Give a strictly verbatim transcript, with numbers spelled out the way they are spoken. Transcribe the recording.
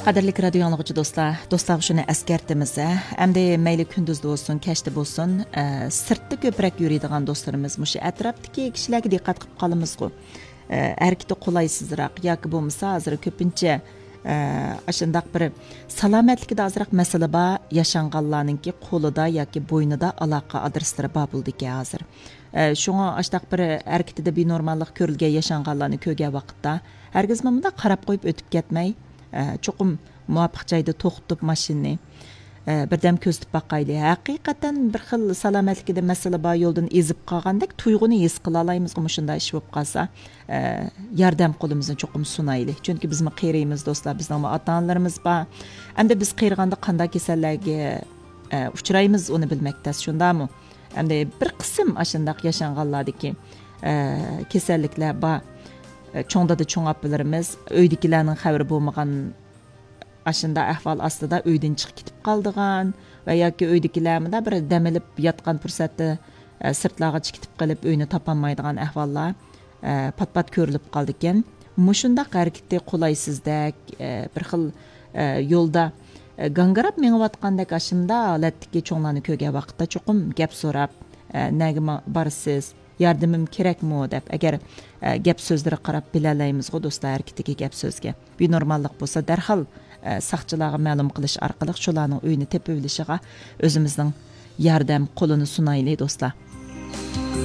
قەدىرلىك رادىيو ئاڭلىغۇچى دوستلار، دوستلارغا شۇنى ئەسكەرتىمىز، ھە؟ ئەمدى مەيلى كۈندۈزدە بولسۇن، كەچتە بولسۇن، ئە، سىرتتا كۆپرەك يۈرىدىغان دوستلىرىمىز مۇشۇ ئەتراپتىكى كىشىلەرگە دىققەت قىلىپ قالىمىزغۇ. ئە، ھەرىكىتى قولايسىزراق ياكى بولمىسا ھازىر كۆپىنچە، ئە، ئاشۇنداق بىر سالامەتلىكىدە ئازراق مەسىلە بار ياشانغانلارنىڭكى قولىدا ياكى بوينىدا ئالاقە ئادرېسلىرى بار بولىدىكەن ھازىر. ئە، شۇڭا ئاشتاق بىر ھەرىكىتىدە بىنورماللىق كۆرۈلگەن ياشانغانلارنى كۆرگەن ۋاقىتتا، ھەرگىزمۇ مۇنداق قاراپ قويۇپ ئۆتۈپ كەتمەي، ئە، چوقۇم مۇۋاپىق جايدا توختىتىپ ماشىنىنى، ئە، بىردەم كۆزىتىپ باقايلى. ھەقىقەتەن بىر خىل سالامەتلىكىدە مەسىلە بار يولدىن ئېزىپ قالغاندەك تۇيغۇنى ھېس قىلالايمىزغۇ مۇشۇنداق ئىش بولۇپ قالسا، ئە، ياردەم قولىمىزنى چوقۇم سۇنايلى. چۈنكى بىزمۇ قېرىيمىز دوستلار، بىزنىڭمۇ ئاتا-ئانىلىرىمىز بار. ئەمدى بىز قېرىغاندا قانداق كېسەللەرگە، ئە، ئۇچرايمىز ئۇنى بىلمەك تەس، شۇنداقمۇ؟ ئەمدى بىر قىسىم ئاشۇنداق ياشانغانلاردىكى، ئە، كېسەللىكلەر بار. ئە، چوڭ دادا، چوڭ ئاپىلىرىمىز ئۆيدىكىلەرنىڭ خەۋىرى بولمىغان ئاشۇنداق ئەھۋال ئاستىدا ئۆيدىن چىقىپ كېتىپ قالىدىغان ۋە ياكى ئۆيدىكىلەر مۇنداق بىر دەم ئېلىپ ياتقان پۇرسەتتە، ئە، سىرتلارغا چىقىپ كېتىپ قېلىپ ئۆينى تاپالمايدىغان ئەھۋاللار، ئە، پات-پات كۆرۈلۈپ قالىدىكەن. مۇشۇنداق ھەرىكىتى قولايسىزدەك، ئە، بىر خىل، ئە، يولدا، ئە، گاڭگىراپ مېڭىۋاتقاندەك ئاشۇنداق ھالەتتىكى چوڭلارنى كۆرگەن ۋاقىتتا چوقۇم گەپ سوراپ، ئە، نەگە ما-، بارىسىز؟ ياردىمىم كېرەكمۇ دەپ، ئەگەر، ئە، گەپ سۆزلىرىگە قاراپ بىلەلەيمىزغۇ دوستلار، ھەرىكىتىگە، گەپ سۆزگە. بىنورماللىق بولسا دەرھال، ئە، ساقچىلارغا مەلۇم قىلىش ئارقىلىق شۇلارنىڭ ئۆيىنى تېپىۋېلىشىغا ئۆزىمىزنىڭ ياردەم قولىنى سۇنايلى دوستلار.